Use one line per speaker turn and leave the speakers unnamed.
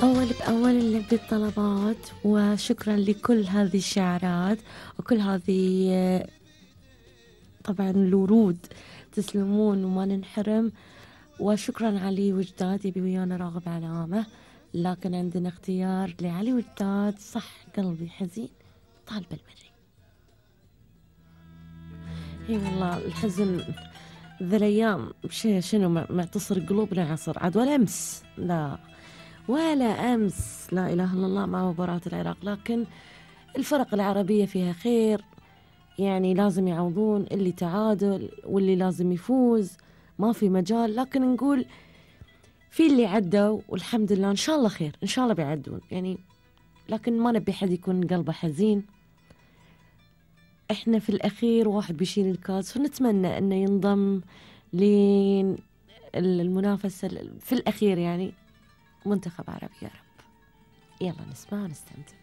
أول بأول نلبي الطلبات، وشكرا لكل هذه الشعارات وكل هذه طبعا الورود، تسلمون وما ننحرم. وشكرا علي وجداد يبي ويانا راغب علامة، لكن عندنا اختيار لعلي وجداد. صح قلبي حزين طالب المري. اي والله الحزن ذا الايام شنو معتصر قلوبنا عصر عاد، ولا امس لا ولا امس، لا اله الا الله، مع مباراة العراق. لكن الفرق العربية فيها خير، يعني لازم يعوضون اللي تعادل واللي لازم يفوز، ما في مجال. لكن نقول في اللي عدوا والحمد لله، إن شاء الله خير، إن شاء الله بيعدون يعني. لكن ما نبي حد يكون قلبه حزين. إحنا في الأخير واحد بيشيل الكاس، فنتمنى أنه ينضم للمنافسة في الأخير يعني منتخب عربي يا رب. يلا نسمع ونستمتع.